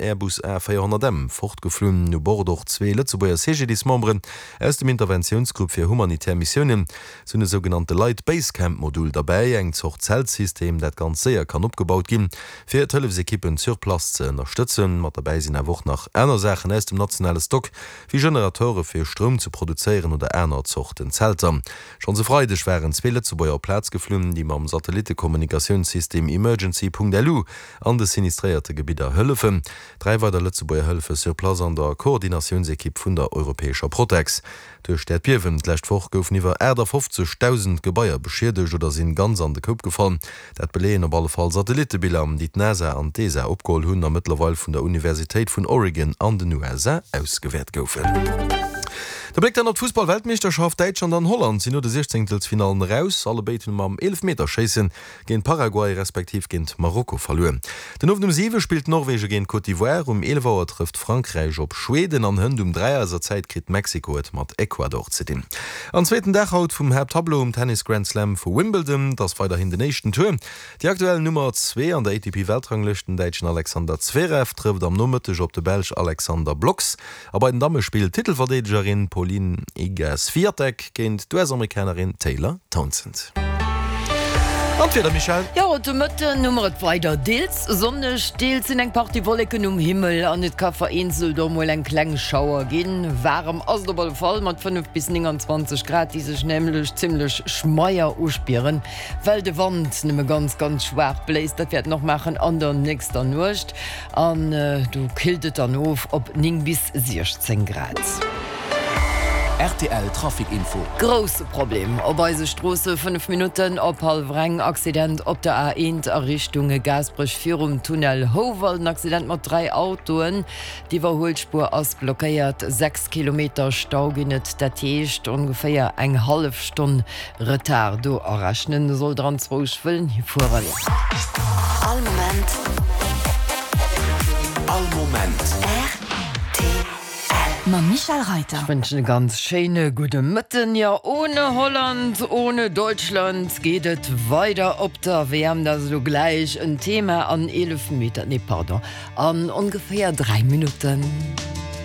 Airbus A 400 M fortgeflunn. U Bord och zwee Lëtzebuerger CGDIS-Memberen aus dem Interventiounsgrupp fir humanitär Missiounen. Se hunn e sougenannte Light Base Camp Modul derbäi, eng Zort Zeltsystem, dat ganz séier kann opgebaut ginn, fir d'Hëllefsekippen sur place ze ënnerstëtzen. Mat derbäi sinn awer och nach aner Saachen aus dem nationale Stock, wéi Generatore fir Stroum ze produzéieren oder aner Zorten Zelter. Schonns e Freideg waren zwee Lëtzebuerger op d'Plaz geflunn, déi mam Satellittekommunikatiounssystem Emergency.lu an de sinistréierte Gebidder hëllefen. Dräi weider Lëtzebuerger hëllefe sur place an der Koordinatiounsekipp vun der europäescher Protex. Duerch d'Äerdbiewen d'lescht Woch goufen iwwer 58.000 Gebaier beschiedegt oder sinn ganz an de Koup gefall. Dat beleeën op alle Fall Satellittebiller, déi d'NASA an d'ESA opgeholl hunn a mëttlerweil vun der Universitéit vun Oregon an den USA ausgewäert goufen. De Bléck dann op d'Fussball-Weltmeeschterschaft, Däitschland an Holland sinn no de Siechzéngtelsfinallen eraus. Allebéid hunn mam Eelefmeterschéisse géint Paraguay respektiv géint Marokko verluer. Den Owend um 7 spillt Norwegen géint Côte d'Ivoire, um 11 Auer trëfft Frankräich op Schweden an hënt um 3 eiser Zäit kritt Mexiko et mat Ecuador ze dinn. An zweeten Dag haut vum Haapttableau um Tennis Grand Slam vu Wimbledon. Et ass weiderhin den éischten Tour. Déi aktuell Nummer 2 an der ATP-Weltranglëscht, den Däitschen Alexander Zverev, trëfft am Nomëtteg op de Belsch Alexander Blockx. A bei den Damme spillt d'Titelverdeedegerin Pauline Iga Swiatek géint d'US-Amerikanerin Taylor Townsend. An d'Wieder, Michèle? Jo, haut de Mëtten hu mer et weider deels sonneg, deels sinn eng Partie Wolleken um Himmel an et ka vereenzelt och mol eng kleng Schauer ginn. Waarem ass et op alle Fall mat 5 bis 29 Grad, déi sech nämlech zimmlech schmeier uspieren, well de Wand nëmme ganz, ganz schwaach bléist. Dat wäert en och maachen an der nächster Nuecht. An do killt et dann of op 9 bis 16 Grad. Rtl Trafic Info. Grousse Problem op eise Stroosse, 5 Minutten op hallwer eng, Accident op der A1 a Richtung Gaasperech virum Tunnel Houwald. En Accident mat 3 Autoen. D'Iwwerhuelspuer ass blockéiert. 6 Kilometer Stau ginn et, dat heescht ongeféier eng hallef Stonn Retard do arechnen. Soll der anzwousch wëllen hifueren. All Moment. All Moment. Rtl. Mam Michèle Reyter. Ech wënschen e ganz schéine gudde Mëtten. Jo, ohne Holland, ohne Deutschland geet et weider op der WM. Dat ass elo gläich en Thema an 11 Meter, nee pardon, an ongeféier 3 Minutten.